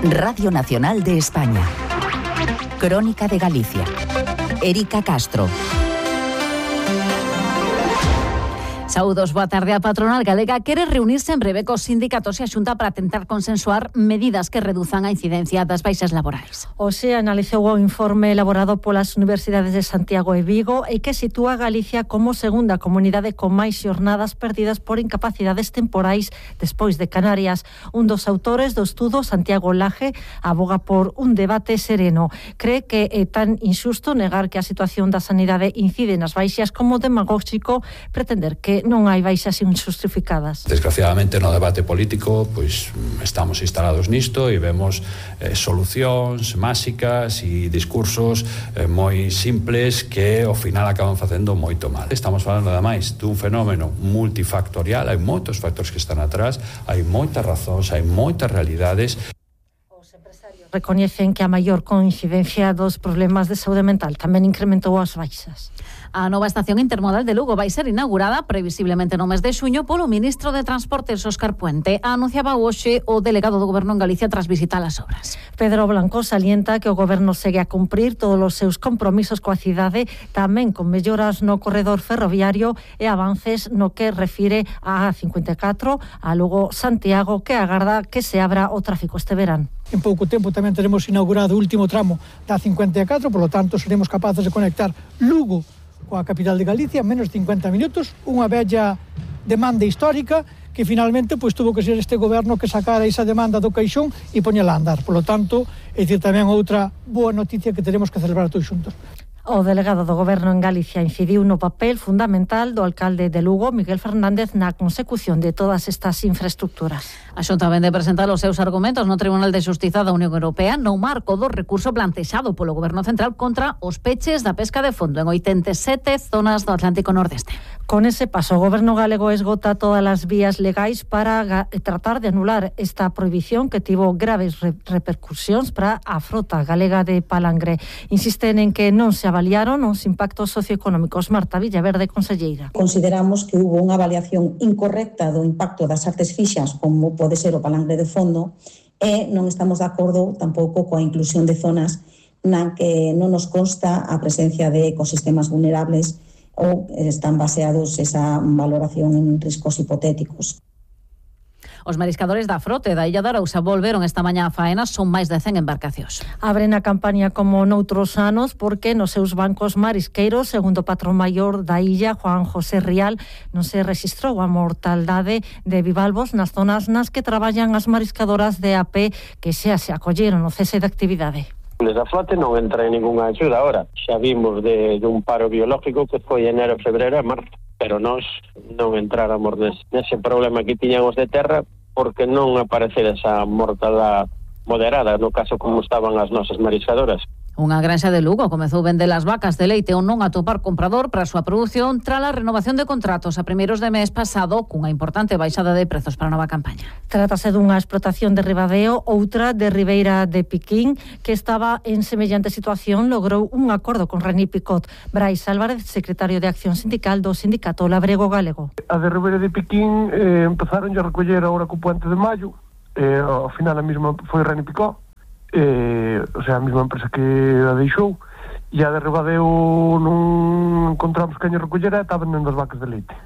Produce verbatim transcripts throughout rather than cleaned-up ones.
Radio Nacional de España. Crónica de Galicia. Erika Castro. Saúdos, boa tarde. A patronal galega quere reunirse en breve cos sindicatos e a Xunta para tentar consensuar medidas que reduzan a incidencia das baixas laborais. Hoxe analizou o informe elaborado polas universidades de Santiago e Vigo e que sitúa a Galicia como segunda comunidade con máis xornadas perdidas por incapacidades temporais despois de Canarias. Un dos autores do estudo, Santiago Laje, aboga por un debate sereno. Cree que é tan injusto negar que a situación da sanidade incide nas baixas como demagóxico pretender que non hai baixas injustificadas. Desgraciadamente no debate político pois estamos instalados nisto e vemos eh, solucións máxicas e discursos eh, moi simples que ao final acaban facendo moito mal. Estamos falando ademais dun fenómeno multifactorial, hai moitos factores que están atrás, hai moitas razóns, hai moitas realidades. Recoñecen que a maior coincidencia dos problemas de saúde mental tamén incrementou as baixas. A nova estación intermodal de Lugo vai ser inaugurada previsiblemente no mes de xuño polo ministro de Transportes, Óscar Puente. Anunciaba hoxe o delegado do Goberno en Galicia tras visitar as obras. Pedro Blanco salienta que o Goberno segue a cumprir todos os seus compromisos coa cidade, tamén con melloras no corredor ferroviario e avances no que refire a A cincuenta e catro, a Lugo Santiago, que agarda que se abra o tráfico este verán. En pouco tempo tamén teremos inaugurado o último tramo da cincuenta e catro, por lo tanto seremos capaces de conectar Lugo coa capital de Galicia en menos de cincuenta minutos, unha bella demanda histórica que finalmente pois tuvo que ser este goberno que sacara esa demanda do caixón e poñela a andar. Por lo tanto, é dicir tamén outra boa noticia que teremos que celebrar todos xuntos. O delegado do Goberno en Galicia incidiu no papel fundamental do alcalde de Lugo, Miguel Fernández, na consecución de todas estas infraestructuras. A Xunta vende presentar os seus argumentos no Tribunal de Xustiza da Unión Europea no marco do recurso plantexado polo Goberno Central contra os peches da pesca de fondo en oitenta e sete zonas do Atlántico Nordeste. Con ese paso, o Goberno galego esgota todas as vías legais para tratar de anular esta prohibición que tivo graves re repercusións para a frota galega de palangre. Insisten en que non se avaliaron os impactos socioeconómicos. Marta Villaverde, conselleira. Consideramos que hubo unha avaliación incorrecta do impacto das artes fixas, como pode ser o palangre de fondo, e non estamos de acordo tampouco coa inclusión de zonas na que non nos consta a presencia de ecosistemas vulnerables ou están baseados esa valoración en riscos hipotéticos. Os mariscadores da frote da Illa de Arousa volveron esta mañá a faena, son máis de cen embarcacións. Abren a campaña como noutros anos porque nos seus bancos marisqueiros, segundo o patrón maior da illa, Juan José Rial, non se rexistrou a mortaldade de bivalvos nas zonas nas que traballan as mariscadoras de A P que xa se acolleron o cese de actividade. Desde a flote non entra en ninguna axuda ahora. Xa vimos de, de un paro biológico que foi enero, febreiro e marzo. Pero nós non entráramos nese, nese problema que tiñamos de terra porque non aparecer esa mortalidade moderada, no caso como estaban as nosas mariscadoras. Unha granxa de Lugo comezou vender as vacas de leite ou non atopar comprador para a súa produción tras a renovación de contratos a primeiros de mes pasado cunha importante baixada de prezos para a nova campaña. Trátase dunha explotación de Ribadeo, outra de Ribeira de Piquín, que estaba en semellante situación, logrou un acordo con Reni Picot. Brais Álvarez, secretario de Acción Sindical do Sindicato Labrego Galego. A de Ribeira de Piquín eh, empezaron a recoller agora co puente de maio, eh, ao final a mesma foi Reni Picot. Eh, o sea, a mesma empresa que a deixou, e a de Ribadeo non encontramos que a recollera, está vendendo as vacas de leite.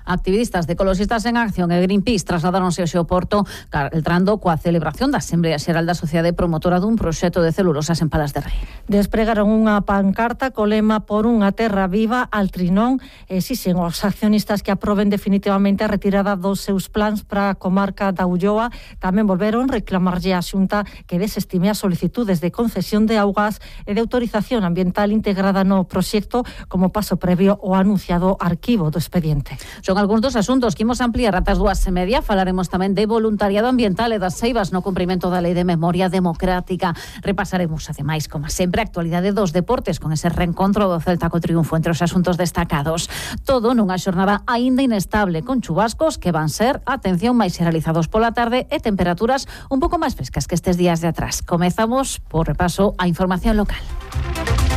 Activistas de Ecoloxistas en Acción e Greenpeace trasladáronse ao Xeoporto entrando coa celebración da Asamblea Xeral da Sociedade Promotora dun proxecto de celulosas en Palas de Rei. Despregaron unha pancarta co lema por unha terra viva al Trinón e exixen aos accionistas que aproben definitivamente a retirada dos seus plans para a comarca da Ulloa. Tamén volveron reclamarlle á Xunta que desestime as solicitudes de concesión de augas e de autorización ambiental integrada no proxecto como paso previo ao anunciado arquivo do expediente. Son algúns dos asuntos que imos ampliar ata as dúas e media. Falaremos tamén de voluntariado ambiental e das ceibas no cumprimento da Lei de Memoria Democrática. Repasaremos, ademais, como sempre, a actualidade dos deportes con ese reencontro do Celta co triunfo entre os asuntos destacados. Todo nunha xornada aínda inestable, con chubascos que van ser, atención, máis xeralizados pola tarde e temperaturas un pouco máis frescas que estes días de atrás. Comezamos por repaso a información local.